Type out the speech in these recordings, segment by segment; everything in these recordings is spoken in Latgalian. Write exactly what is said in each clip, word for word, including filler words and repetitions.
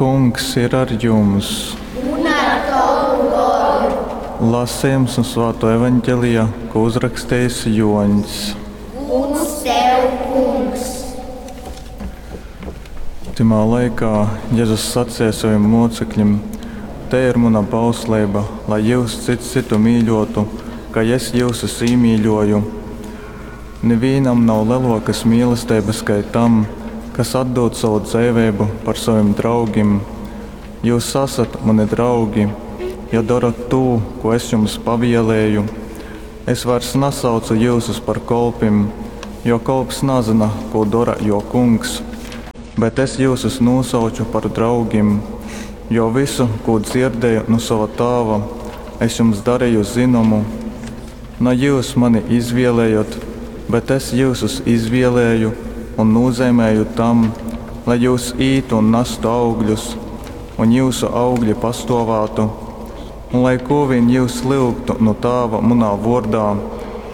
Kungs ir ar jums! Un ar tovu goru! Lasījums no Svāto evaņģelija, ko uzrakstījis Joņs. Gods tev, Kungs! Tymā laikā Jēzus sacīja saviem mocekļiem: Te ir muna bausleiba, lai jūs cits citu mīļotu, kā es jyusus īmīļoju. Nivīnam nav lelokas mīlestības kai tam, kas atdod savu dzeivību par saviem draugiem. Jūs esat mani draugi, ja darat to, ko es jums pavielēju. Es vairs nesaucu jyusus par kolpim, jo kolps nezina, ko dara jo kungs, bet es jyusus nosauču par draugim, jo visu, ko dzirdēju no sava tāva, es jums darīju zinomu. Na jūs mani izvēlējot, bet es jyusus izvēlēju un nozīmēju tam, lai jūs ītu un nestu augļus, un jūsu augļi pastāvētu, un lai ko vien jūs lyugtu no tāva munā vordā,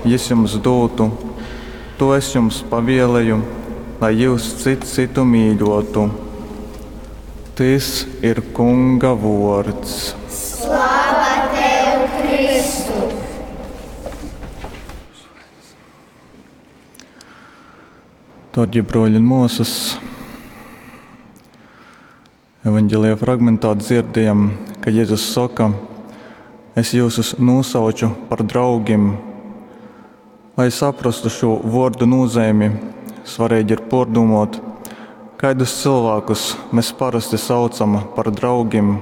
jis jums dotu. To es jums pavielēju, lai jūs cits citu mīļotu. Tys ir Kunga vords. Slava tev, Kristu! Darbie broļi un māsas, evanģēlijā fragmentā dzirdējam, ka Jēzus saka: Es jūsus nosauču par draugiem. Lai saprastu šo vārdu nozīmi, svarīgi ir pārdomāt, kādus cilvēkus mēs parasti saucam par draugiem.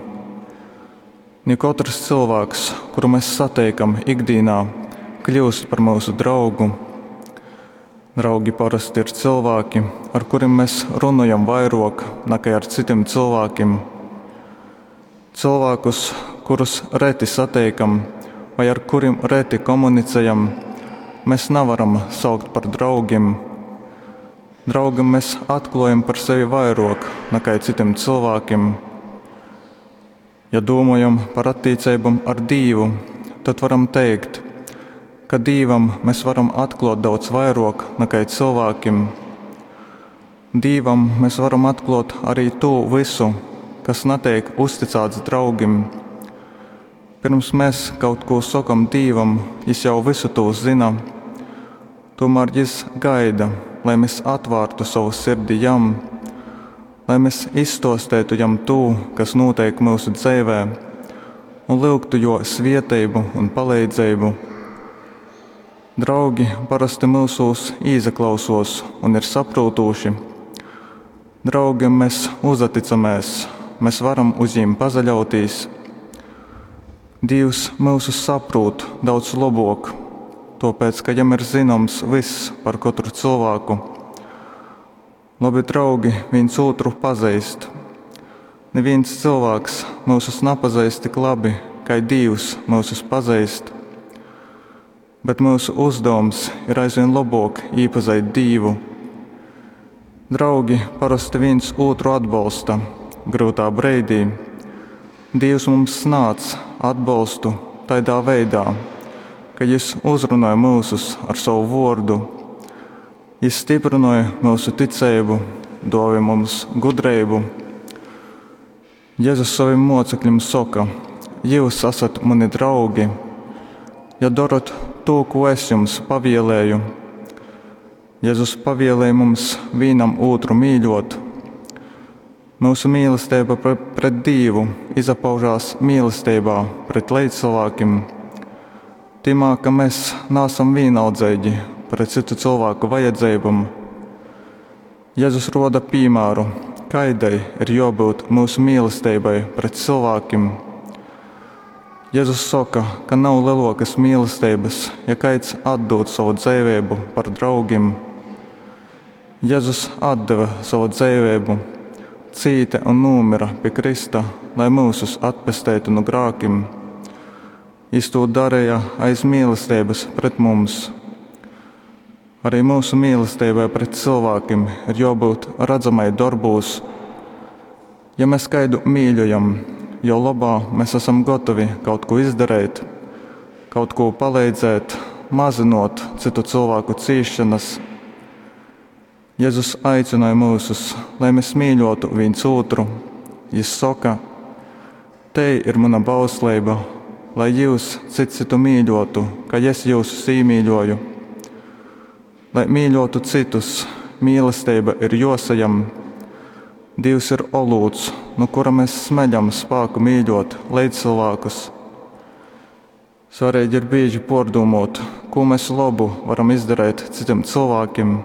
Ne katrs cilvēks, kuru mēs satiekam ikdienā, kļūst par mūsu draugu. Draugi parasti ir cilvēki, ar kuriem mēs runājam vairāk nekā ar citiem cilvēkiem. Cilvēkus, kurus reti satiekam vai ar kuriem reti komunicējam, mēs nevaram saukt par draugiem. Draugam mēs atklājam par sevi vairāk nekā citiem cilvēkiem. Ja domājam par attiecībām ar Dievu, tad varam teikt, ka Dievam mēs varam atklāt daudz vairāk nekā cilvēkiem. Dievam mēs varam atklāt arī to visu, kas netiek uzticēts draugim. Pirms mēs kaut ko sakam Dievam, Jis jau visu to zina. Tomēr Jis gaida, lai mēs atvērtu savu sirdi Jam, lai mēs izstostētu Jam to, kas notiek mūsu dzīvē, un lūgtu Jo svieteibu un palīdzību. Draugi parasti mūsos īzaklausos un ir saprotoši. Draugiem mēs uzticamies, mēs varam uz viņiem pazaļauties. Dievs mūsus saprot daudz labāk, tāpēc, ka jam ir zināms viss par katru cilvēku. Labi draugi viens otru pazīst. Neviens cilvēks mūsus nepazīst tik labi, kā Dievs mūsus pazīst. Bet mūsu uzdevums ir aizvien labāk iepazīt Dievu. Draugi parasti viens otru atbalsta grūtā brīdī. Dievs mums sniedz atbalstu tādā veidā, ka Jis uzrunāja mūsus ar savu vārdu. Jis stiprināja mūsu ticību, dāvāja mums gudrību. Jēzus saviem mocekļiem saka: Jūs esat mani draugi, ja darat to, ko es jums pavielēju. Jēzus pavielēja mums vienam otru mīļot. Mūsu mīlestība pret Dievu izpaužās mīlestībā pret līdzcilvēkiem. Timā, ka mēs neesam vienaldzīgi pret citu cilvēku vajadzībām. Jēzus roda piemēru, kaidai ir jābūt mūsu mīlestībai pret cilvēkiem. Jēzus saka, ka nav lielākas mīlestības, ja kāds atdod savu dzīvību par draugiem. Jēzus atdeva savu dzīvību, cīta un nomira pie Krista, lai mūsus atpestētu no grēkiem. Jis to darīja aiz mīlestības pret mums. Arī mūsu mīlestībai pret cilvēkiem ir jābūt redzamai darbos. Ja mēs kādu mīļojam, jo labā mēs esam gatavi kaut ko izdarīt, kaut ko palīdzēt, mazinot citu cilvēku cīšanas. Jēzus aicināja mūsus, lai mēs mīļotu viens otru, Jis soka, Tei ir muna bausleiba, lai jyus cyts cytu mīļōtu, kai es jyusus īmīļōju. Lai mīļōtu cytus, mīlesteiba ir jōsajam. Dīvs ir olūts, nu kura mes smeļam spāku mīļōt leidzcylvākus. Svareigi ir bīži pōrdūmōt, kū mes lobu varam izdareit cytim cylvākim,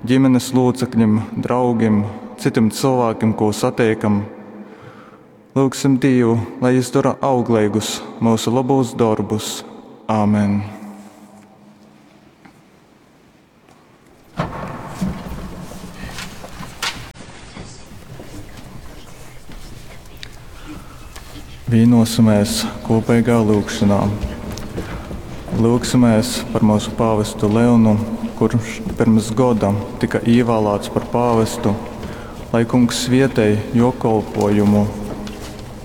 gimenes lūceklim, draugim, cytim cylvākim, kū sateikam. Lyugsim Dīvu, lai Jys dora augleigus myusu lobūs dorbus. Amen. Vīnosimēs kūpeigā lyugšonā. Lyugsimēs par myusu pāvestu Leonu, kurš pirms goda tyka īvālāts par pāvestu, lai Kungs svietej juo kolpuojumu.